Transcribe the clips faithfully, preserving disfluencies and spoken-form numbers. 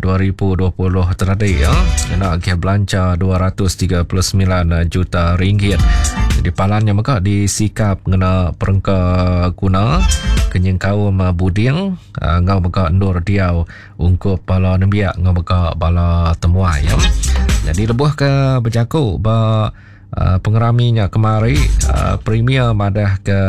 dua ribu dua puluh tadi ya. Kena agih belanja dua ratus tiga puluh semilan juta ringgit. Jadi palannya mega disikap ngena perengka guna kenyeng kaum buding ngau mega endur diau ungkup bala nembiak ngau mega bala temuai ya. Jadi lebuh ke berjaku ba uh, pengeraminya kemari uh, Premier madah ke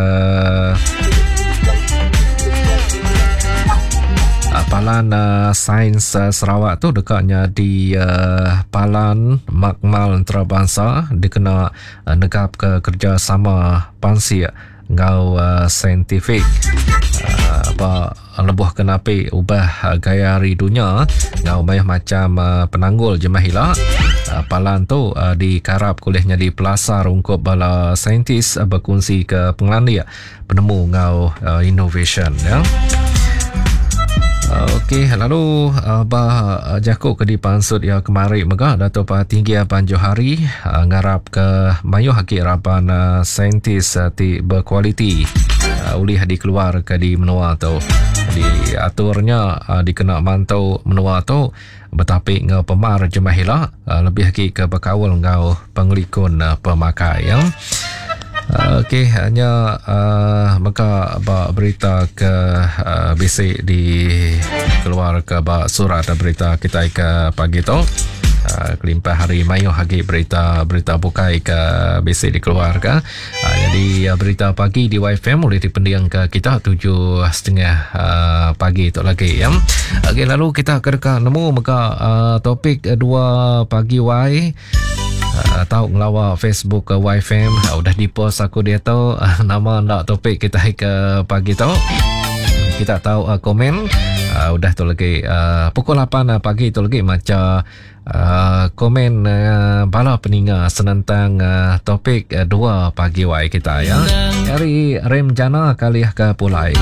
uh, palan uh, sains uh, Sarawak tu dekatnya di uh, palan makmal antarabangsa dikena uh, negap ke kerjasama pansik ngau uh, saintifik. Uh, ba lebuh kenapi ubah uh, gaya hari dunia ngau banyak macam uh, penanggul jemah hila. Uh, palan tu uh, dikarap kulihnya di pelasar ungkup bala saintis uh, berkongsi ke pengelandia penemu ngau uh, innovation ya. Okey, lalu uh, bah uh, jakuk ke dipansut ya kemari mega Dato' Patinggi Abang Johari uh, ngarap ke mayuh agi raban uh, saintis uh, ti berkualiti uh, ulih dikeluar ke di menua tu. Diaturnya uh, dikena mantau menua tu betapi ngau pemar jemah hila uh, lebih agi ke berkaul ngau pengelikun uh, pemakai ya. Okey, hanya uh, maka ba berita ke uh, bisik di keluar ke ba surat berita kita ke pagi tu. Uh, kelimpah hari mayu hagi berita-berita bukai ke bisik dikeluar ke. Uh, jadi uh, berita pagi di Y F M boleh dipendiang ke kita tujuh setengah uh, pagi tu lagi ya. Okey, lalu kita ke dekat nemu maka uh, topik dua pagi Y. Uh, tahu ngelawa Facebook ke Y F M uh, udah di post aku dia tu uh, nama ndak topik kita ke pagi tu. Kita tahu uh, komen uh, udah tu lagi uh, pukul lapan uh, pagi tu lagi maca uh, komen uh, bala peninga senentang uh, topik uh, dua pagi Y kita ya. Dari Rem Jana kali ke Pulai.